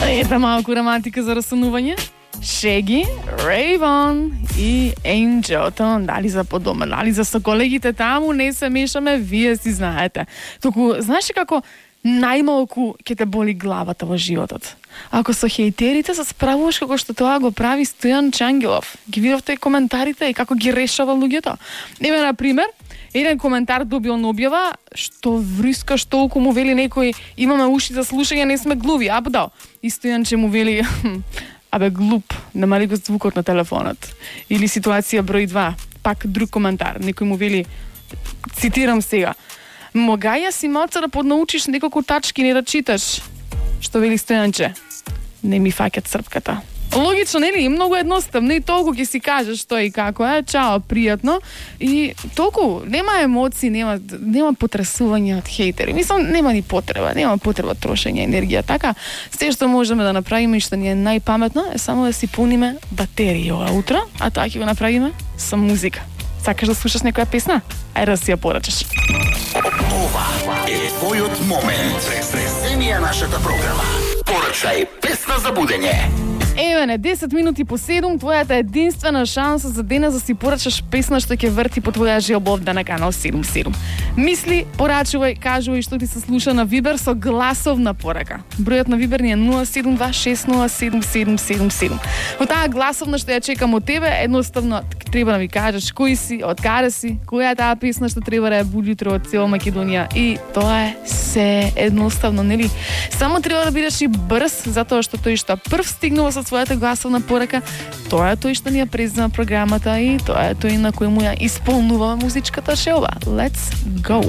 Ета малку романтика за расунување. Шеги, Рейвон и Angel. Дали за по дома, дали за со колегите таму, не се мешаме, вие си знаете. Туку, знаеш како најмалку ќе те боли главата во животот? Ако со хејтерите се справуваш како што тоа го прави Стојан Чангелов. Ги видовте коментарите и како ги решава луѓето. Еве, на пример, еден коментар добил на објава, што врискаш толку, му вели некој, имаме уши за слушање, не сме глуви, апдал. И Стојанче му вели, абе глуп, намали го звукот на телефонот. Или ситуација број 2, пак друг коментар, некој му вели, цитирам сега, могаја си малце да поднаучиш неколку тачки, не да читаш. Што вели Стојанче? Не ми фаќат црпката. Логично, нели? Многу едноставно и толку ќе си кажеш што и како е. Чао, пријатно. И толку нема емоции, нема потресување од хејтери. Мислам, нема ни потреба, нема потреба трошење енергија. Така, се што можеме да направиме и што ни е најпаметно е само да си пуниме батерии ова утро, а тоа ќе го направиме со музика. Сакаш да слушаш некоја песна? Ајде да си ја порачаш. Ова е твојот момент. Преземија нашата програма. Порачај песна за будење. Еве не, 10 минути по 7, твојата единствена шанса за денес да си порачаш песна што ќе врти по твоја желба на канал 77. Мисли, порачувај, кажувај што ти се слуша на Вибер со гласовна порака. Бројот на Вибер ни е 072607777. Во таа гласовна што ја чекам од тебе, едноставно треба да ми кажеш кој си, од каде си, која е таа песна што треба да ја буди утро од цела Македонија. И тоа е се едноставно, нели? Само треба да бидеш и брз, затоа што тој што прв стигнува со својата гласовна порака, тоа е тој што ни ја презема програмата и тоа е тој на кој му ја исполнуваме музичката шелба. Let's go!